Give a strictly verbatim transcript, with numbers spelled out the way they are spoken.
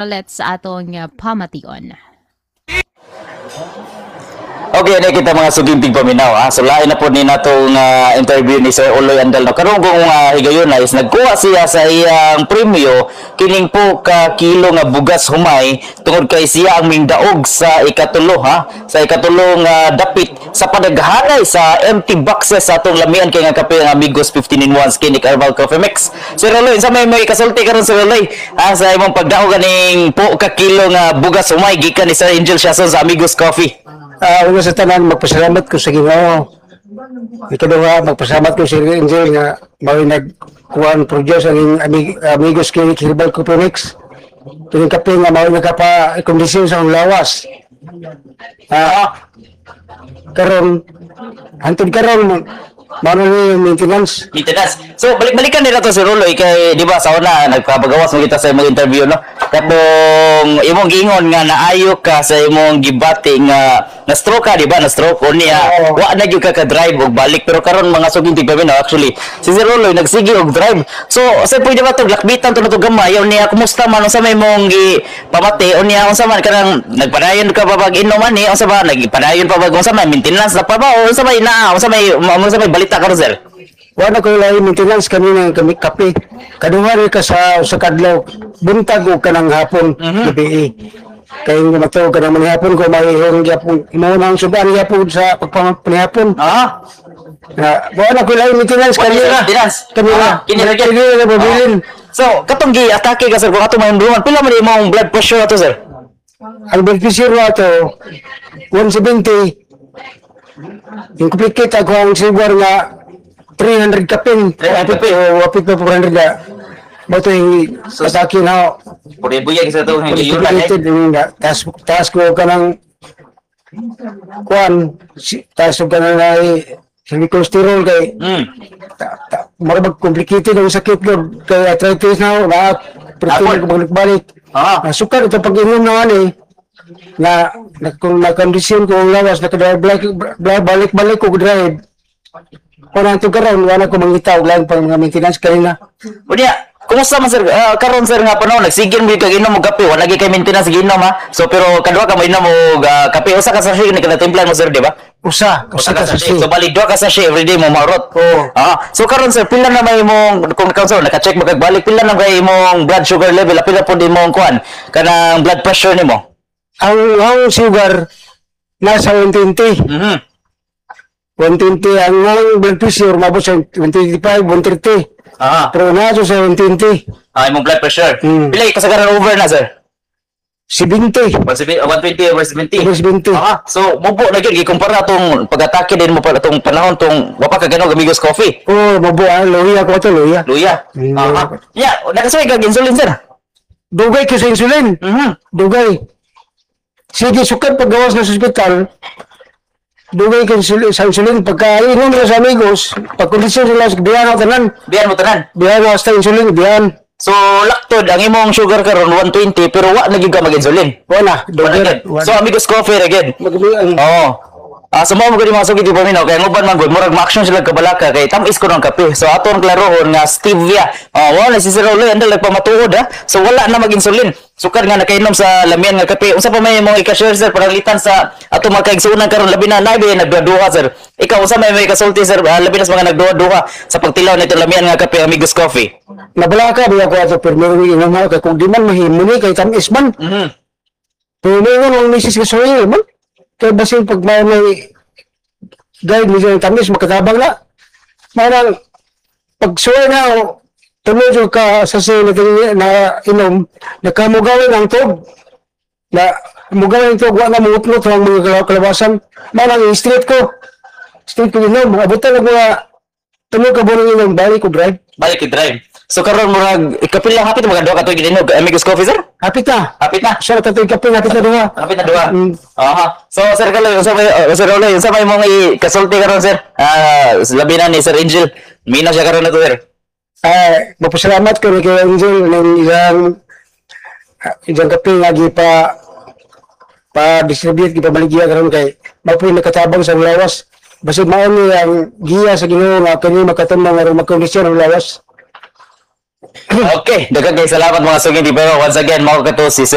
Let's sa atong uh, pamation. Okay, na kita mga suking tigpaminaw ha. So lain na po ni natong uh, interview ni Sir Uloy Andal no. Karon kung uh, higayon na is nagkuha siya sa iyang premyo kining po ka kilo nga bugas humay tungod kay siya ang mingdaog sa ikatulo ha. Sa ikatulo nga dapit sa padaghanay sa empty boxes sa atong lamian kay nga kape nga Amigos fifteen in one Skinny Herbal Coffee Mix. Sir Uloy, sa may may kasulti karon, Sir Uloy, ha, sa imong pagdaog kaning po ka kilo nga bugas humay gikan ni Sir Angel Siason sa Amigos Coffee? Ah, una sa tanan, magpasalamat ko sa Ginoo. Ikaduha, magpasalamat ko sa Angel nga mao nagkuan produce ang amig, Amigos Clinic Herbal Coffee Mix. Kining kape nga mao nagapa-kondisyon sa akong lawas. Ah, karon hantod karon mao na ni yung maintenance. Maintenance. So balik-balikan nila to si Ruloy kay di ba sa una nagpapagawas mo kita sa imong interview, no. Katong imong giingon nga naayo ka sa imong gibati nga na stroke ka, di ba? Na stroke unya Oo. wa na gyud ka ka drive og balik, pero karon, mga suging tigpaminaw, actually si Sir Ruloy nagsige og drive. So sa pwede ba to lakbitan to na to gamay unya kumusta man, unsa may imong gi pamati unya, unsa man kanang nagpadayon ka ba pag inom ani, unsa ba nagpadayon pa ba, unsa man maintenance na pa ba o unsa may naa, unsa may unsa may balita karon, sir? Wala ko lahi maintenance kami ng kami kape. Kaduha rin ka sa sa kadlaw buntag o kanang hapon, gabi. Kay nga matuog ka naman hapon ko may ihong gyapon imo nang suban gyapon sa pagpamanihapon. Ah. Na wala ko lahi maintenance Wala kami siya ra. maintenance. Kami ra. Ah, kini ra gyud. Kini ra mabilin. So, katong gi-atake ka, sir, kung ato mahimduman, pila man imong blood pressure ato, sir? Ang blood pressure ato one seventy. Yung complicate ako ang sugar nga three hundred kapin. three hundred kapin. O wapit pa four hundred na. Mo to yung atake na Pwede buyag sa itong higayunan eh. complicated yung nga taas taas ko ka ng kuan si, taas ko ka ng ay cholesterol kay Hmm. ta, ta, mura complicated ang sakit ko kay arthritis na na Apol. pero ko balik-balik. Ah. uh, sukar ito pag inom na ani na, na kung na kondisyon ko ang lawas nakadrive balik-balik ko drive. Kung ang karon wala ko mangita og lain pang mga maintenance kanina. Unya, kumusta man, sir? Ah, karon, sir, nga panahon nagsigin mo kag inom og kape, wala gyud kay maintenance giinom ha. So pero kadua ka mo inom og ah, kape, usa ka sachet ni kada timplan mo, sir, di ba? Usa, usa ka sachet. So bali duha ka sachet everyday mo maurot. Oo. Ah, so karon, sir, pila na may imong kung ikaw, sir, naka-check mo kag balik, pila na kay imong blood sugar level, pila pud imong kuan kanang blood pressure nimo? Ang ang sugar nasa one twenty. Mhm. one twenty ang ang blood pressure mabot sa one twenty-five, one thirty. Ah. Pero nasa sa one twenty. Ah, imong blood pressure. Hmm. Pila kasagaran over na, sir? seventy. one seventy, one twenty over seventy. Over seventy. Ah, so mubo na gyud gikumpara tong pag-atake din mo pa tong panahon tong wa pa ka ganog Amigos Coffee. Oh, mabo ah, luya ko ato, luya. Luya. Mm, Ah, luya. Yeah, nakasuway kag insulin, sir? Dugay ko sa insulin. Mhm. Dugay. Sige, sukad paggawas na sa ospital, dugay ko insulin, sa insulin. Pagka inom na sa Amigos, pag kondisyon sila, biyan ako tanan. Biyan mo tanan. Biyan ako sa insulin, biyan. So laktod ang imong sugar karon one twenty pero wa na gyud ka mag-insulin. Wala, Wala dugay. gyud. So Amigos Coffee ra gyud. Mag- Oo. Ah, so mao mo gud mga sugid paminaw kay ang uban man gud murag ma-action sila kabalaka kay tam-is ko ng kape. So aton klarohon nga stevia. Oh, wala si Sir Uloy andal nagpamatuod ha. So wala na mag-insulin. Sukad nga nakainom sa lamian nga kape. Unsa pa may imong ika-share, sir, pananglitan sa ato mga kaigsuonan karon, labi na naay nagduha, sir? Ikaw, unsa may may kasulti, sir, ah, labi na sa mga nagduha-duha sa pagtilaw nito lamian nga kape Amigos Coffee? Nabalaka biya ko ato pero meron inom ako kay kung di man mahimo ni kay tamis man. Mhm. Pero mayroon ang misis ko sa man. Kaya basin pag may may guide medyo yung tamis makatabang na. Marang pag suway na o tuloy ka sa siya na, na inom, nakamugawin ang tog. Na mugawin ang tog, wa na mungutnot ang mga kala- kalabasan. Manang straight ko. Straight ko inom. Abutan og mga tulo ka buwan inom, balik ko drive. Balik i-drive. So karon murag ikapila hapit mga duha ka tuig inom Amigos Coffee, sir? Hapit na. Hapit na. Siya na tatoy kape, hapit na duha. Hapit na duha. Mm. Aha. So Sir Kaloy, unsa may uh, Sir Uloy, unsa may mong ikasulti karon, sir? Ah, labi na ni Sir Angel. Mina siya karon na to, sir. Ah, mapasalamat ko ni kay Angel ng isang ah, isang kape nga gipa pa distribute gipabaligya karon kay mapoy nakatabang sa lawas. Basig mao ni ang giya sa Ginoo nga kani makatumang aron makondisyon ang lawas. Okay, daghang kay salamat, mga suging. Pero once again, mao kato si Sir